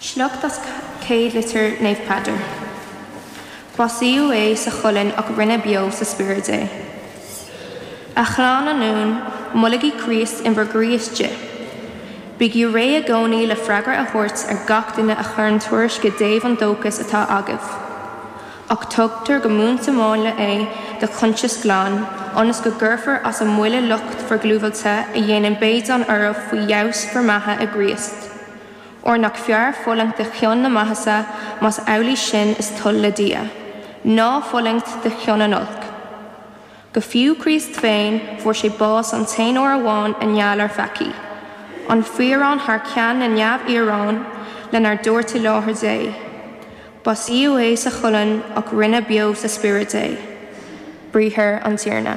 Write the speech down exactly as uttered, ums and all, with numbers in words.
Sliocht as Céad Litir Naomh Peadar. Básaíodh é sa cholainn ach rinneadh beo sa spiorad é. A chlann ionúin, molaigí Críost in bhur gcroí istigh. Bígí réidh i gcónaí le freagra a thabhairt ar gach duine a chuireann tuairisc i dtaobh an dóchais atá agaibh. Ach tugtar go múinte máinle é do choinsias glan, ionas go gcuirfear as a mbuille lucht bhur gclúmhillte a dhéanann béadán oraibh faoi fheabhas bhur mbeatha i gCríost. Óir nach fearr fulaingt de chionn na maitheasa más amhlaidh sin is toil le Dia, ná fulaingt de chionn an oilc. Go fiú Críost féin fuair sé bás an t-aon uair amháin i ngeall ar pheacaí. An fíorán thar ceann na neamhfhíorán lenár dtabhairt i láthair Dé. Básaíodh é sa cholainn ach rinneadh beo sa spiorad é. Briathar an Tiarna.